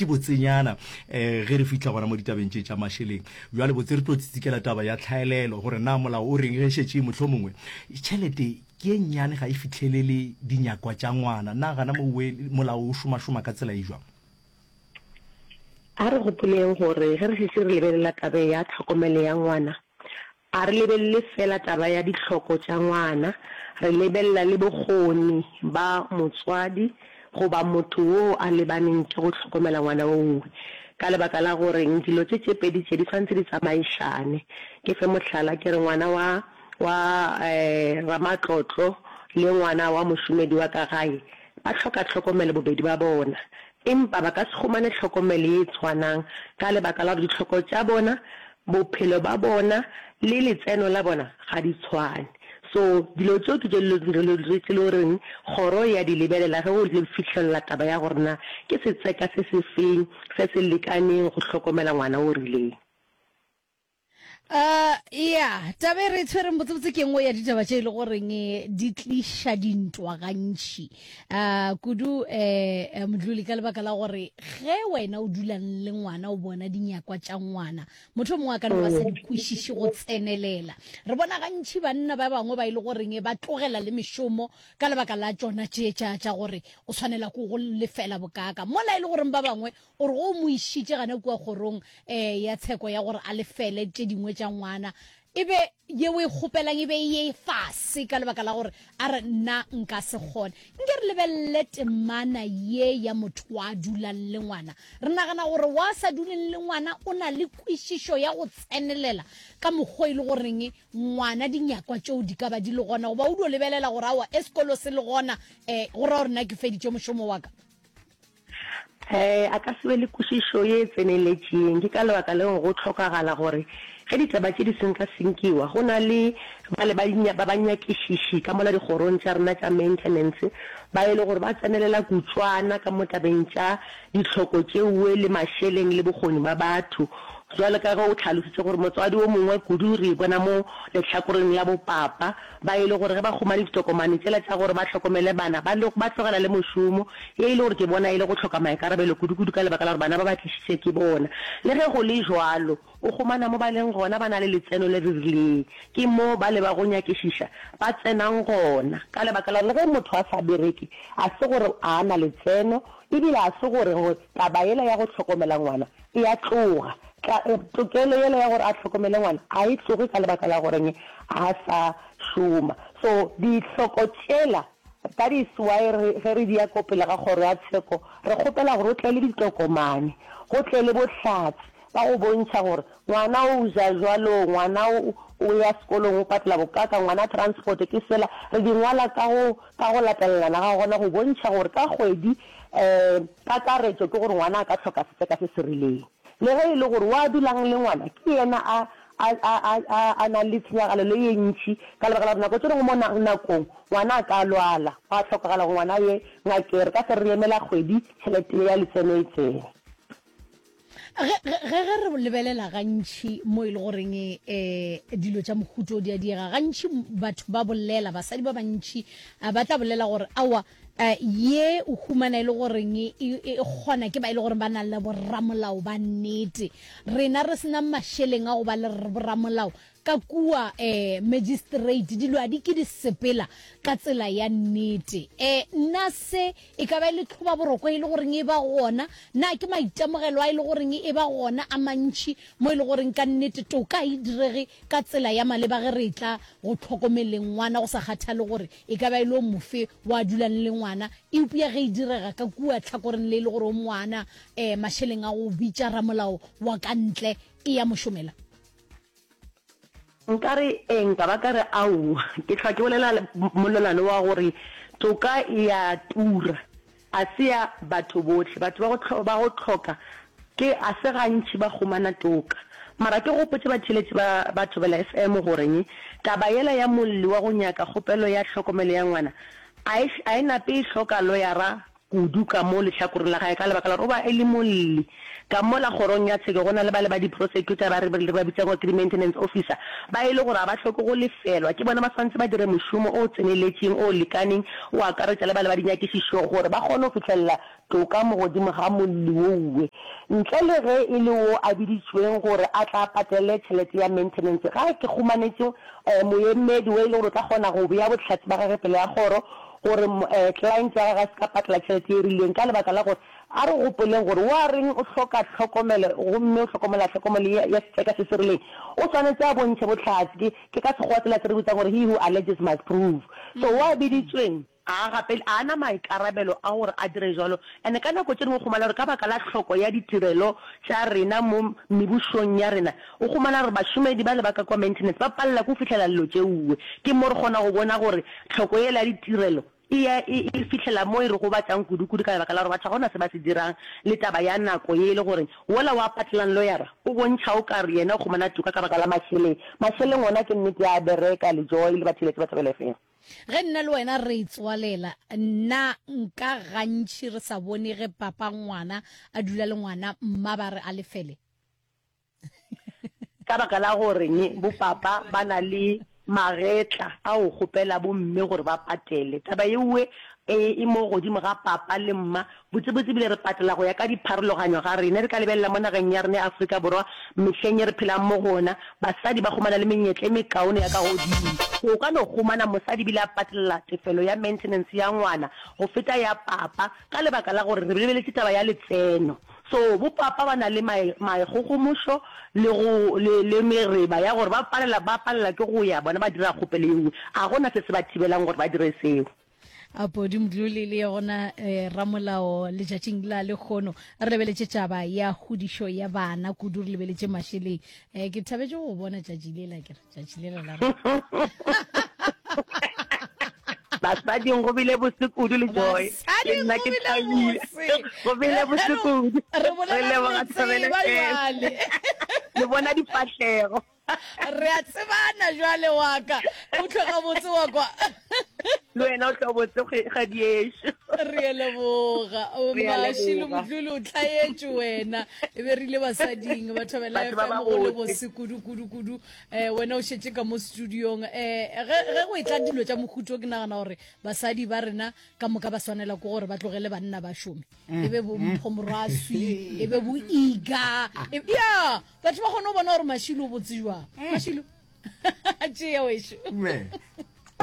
gantši botsenyana um ge re fihla gona mo ditabeng tše tša mašeleng. Bjale botse re tlo tsitsikela taba ya tlhaelelo gore na molao o reng ge šetše mohlomongwe tšhelete ke e nnyane ga e fihlelele dinyakwa tša ngwana. Na gana mowe molao o šomašoma ka tsela e jwang? A re gopoleng gore ge re šetše re lebelela taba ya tlhokomelo ya ngwana, a re lebelele feela taba ya ditlhoko tša ngwana, re lebelela le bokgoni ba motswadi goba motho wo a lebaneng ke go hlokomela ngwana owe. Ka lebaka la goreng dilo tše tše pedi tše di swanetše di tsamaišane. Ke fe mohlala ke re ngwana wa wa ramatlotlo le ngwana wa mošomedi wa ka gae ba hloka tlhokomelo bobedi ba bona. Empa ba ka se humane tlhokomelo ye e tshwanang ka lebaka la gore ditlhoko tša bona, bophelo ba bona le letseno la bona ga di tshwane. So dilo tšeo ke tše dilo tše le goreng kgoro e a di lebelela ge go fihlelela taba ya gore na ke setseka se se feng se se lekaneng go hlokomela ngwana o rileng. Uh, ya taba e re e tshwereng botsebotse ke nngwe ya ditaba tše e le goreng eh, di tliša dintwa gantši uh, kudu um modluli ka lebaka la gore ge wena o dulang le ngwana o bona dinyakwa tša ngwana motho o mongwe a ka no ba sa di kwešiše go tsenelela re bona gantši banna ba bangwe ba e le goreng ba tlogela le mešomo ka lebaka la tšona tše tša tša gore o tshwanela ko go lefela bokaka mola e le goreng ba bangwe O re go o mo išitše gana kua kgorong um ya tsheko ya gore a lefele tše dingwe tša ngwana, e be ye o e kgopelang e be e ye fase ka lebaka la gore a re nna nka se kgone. Nke re lebelele temana ye ya motho wa dulang le ngwana. Re nagana gore wa sa duleng le ngwana o na le kwešišo ya go tsenelela ka mokgwa e le goreng ngwana dinyakwa tšeo di ka ba di le gona, goba o dio lebelela gore aowa e sekolo se le gona um go ra gore nna ke feditše mošomo wa ka. Ee, a ka se be le kwešišo ye e tseneletšeng. Ke ka lebaka leo go hlokagala gore ge ditaba tše di senkasenkiwa, go na le bale ba ba banyakišiši ka mola dikgorong tša rena tša maintenance ba e le gore ba tsenelela kutšwana ka mo tabeng tša ditlhoko tšeoe le mašeleng le bokgoni ba batho. Bjalo ka ge o hlalositše gore motswadi o mongwe kudu re e bona mo lehlakoreng la bopapa, Ba e le gore ge ba humane ditokomane tšela tša gore ba hlokomele bana, ba ba tlogela le mošomo, ye e le gore ke bona e le go hloka maikarabelo kudu-kudu ka lebaka la gore bana ba ba tlišitše ke bona. Le ge go le jwalo, o humana mo ba leng gona ba na le letseno le re rileng. Ke mo bale ba go nyakišiša ba tsenang gona, ka lebaka la gore le ge motho a sa bereke, a se gore a na letseno, ebile a se gore taba yela ya go hlokomela ngwana e a tloga. Tla, tokelo yela ya gore a hlokomele ngwana a e tloge ka lebaka la goreng a sa šoma. So dihloko tšela, that is why re, ge re di ya ko pele ga kgoro ya tsheko, re kgopela gore o tle le ditokomane, go tle le bohlatse ba go bontšha gore ngwana o ja jwalo, ngwana o, o ya sekolong o patela bokaka, ngwana transport ke sela. Re di ngwala ka go, ka go latelelana ga gona go bontšha gore ka kgwedi, um kakaretšo ke gore ngwana a ka hloka setseka se se rileng. Le ge e le gore wa dulang le ngwana ke yena a, a, a, a, a, a nang le tshenyagalelo ye ntši, ka lebaka la gore nako tše dingwe mo na, nakong ngwana a ka lwala, gwa hlokagala gore ngwana a ye ngakeng. Re ka se re re emela kgwedi tšhelete ye ya letseno e tsene. Ge, ge, ge re lebelela gantši mo e le goreng um dilo tša mohuto o di a diega, gantši batho ba bolela, basadi ba bantši ba tla bolela gore aowa, Eh, ye o humana e le goreng e, e, e kgona ke ba e le goreng ba na le boramolao ba nnete. Rena re sena mašeleng a go ba le boramolao ka kua eh, magistrate, dilo a di ke di sepela ka tsela ya nnete. Eh, nna se e ka ba e le tlhobaboroko e le goreng e ba gona? Na ke maitemogelo a e le goreng e ba gona a mantši mo e le goreng ka nnete toka e direge ka tsela ya maleba ge re etla go tlhokomeleng ngwana go sa kgathale gore E ka ba e le o mofe wa dulang le ngwana, eupša ge e direga ka kua tlhakoreng le e le gore o ngwana, um mašeleng a go bitša ramolao wa ka ntle e ya mo šomela? Nka re ee, nka ba ka re aowa. Ke hlwa ke bolela molelwane wa gore toka e a tura. A se ya batho bohle. Batho ba go ba go hloka ke a se gantši ba humana toka. Mara ke gopotše batheeletši ba ba Thobela FM goreng taba yela ya molli wa go nyaka kgopelo ya hlokomelo ya ngwana a e a e nape e hloka loyara. kudu ka mo lehlakoreng la gae ka lebaka la gore o ba e le molli. Ka mola kgorong ya tsheko go na le bale ba di-prosecutor ba re re ba bitsang gore ke di-maintenance officer ba e le gore ga ba hloke go lefelwa, ke bona ba swanetše ba dire mošomo o tseneletšeng o lekaneng o akaretša le bale ba dinyakišišo gore ba kgone go fihlelela toka mo godimo ga molli wouwe ntle le ge e le wo a biditšweng gore a tla patele tšhelete ya maintenance. Ga ke khumanetše moemedi wo e le gore o tla kgona go bea bohlatse ba gagwe pele ga kgoro gore client ya gagwe a se ka patela tšhelete e rileng ka lebaka la gore a re gopoleng gore wa reng o hloka tlhokomelo gomme o hlokomela tlhokomelo ya setseka se se rileng o swanetše a bontšhe bohlatse ke ke ka sekgowa tsela se re bitsang gore he who alleges must prove so wa biditsweng ga a gape a na maikarabelo a gore a dire jwalo and ka nako tše dingwe o humana gore ka baka la tlhoko ya ditirelo tša rena mo mebušong ya rena o humana gore bašomedi bale ba ka kwa maintenance ba palela ke go fihlela llo tšeuwe ke mo re kgona go bona gore tlhoko yela ya ditirelo e ya e e fihlela mo e re gobatšang kudu-kudu ka lebaka la gore batho ga go na se ba se dirang le taba ya nako ye e le gore wola wa patelang loyara o bontšha o ka re yena o humana toka ka baka la mašeleng. Mašeleng ona ke nnete a bereka le Joy le batheeletši ba Thobela FM. Ge nna le wena re itswalela, nna nka gantši re sa bone ge papa ngwana a dula le ngwana mma ba re a lefele. Ka baka la gore bo papa ba na le magetla a go kgopela bo mme gore ba patele. Taba yeuwe e e mo godimo ga papa le mma. Botsebotse ebile re patela go ya ka dipharologanyo ga rena. Re ka lebelela mo nageng ya rena ya Afrika Borwa mehleng ye re phelang mo go ona, basadi ba humana le menyetla e mekaone ya ka godimo. O ka no humana mosadi ebile a patelela tefelo ya maintenance ya ngwana go feta ya papa ka lebaka la gore re lebeletše taba ya letseno. So bo papa ba na le maikgogomošo le go le le mereba ya gore ba palela ba palela ke go ya bona ba dira kgopelo ye nngwe. Ga gona se se ba thibelang gore ba dire seo. A Podi Mdluli le yona eh, ramolao letšatšing la lekgono re lebeletše taba ya kgodišo ya bana kudu re lebeletše mašeleng eh, ke thabetše go bona tšatši lela ke re tšatši lela la Basading go bile bose kudu le Joy. Ke nna ke thabile. Go bile bose kudu. Re leboga Thobela jwale. Le bona difahlego. Re a tsebana jwale wa ka. O tloga botse wa kwa. Le wena o tlo botse kgadiešo. Re a leboga. Mašilo Mdluli o tlhaetše wena. E be re ile basading ba Thobela FM go le bose kudu kudu kudu. Eh wena o šetše ka mo studiong. Eh ge ge go etla dilo tša mohuto ke nagana gore basadi ba rena ka moka ba swanela ke gore ba tlogele banna ba šome. E be bo Mpho Moraswi, e be bo Iga. Ya Batho ba kgone go bona gore Mashilo o botse jwang. Mashilo. Tšea wešo. Me.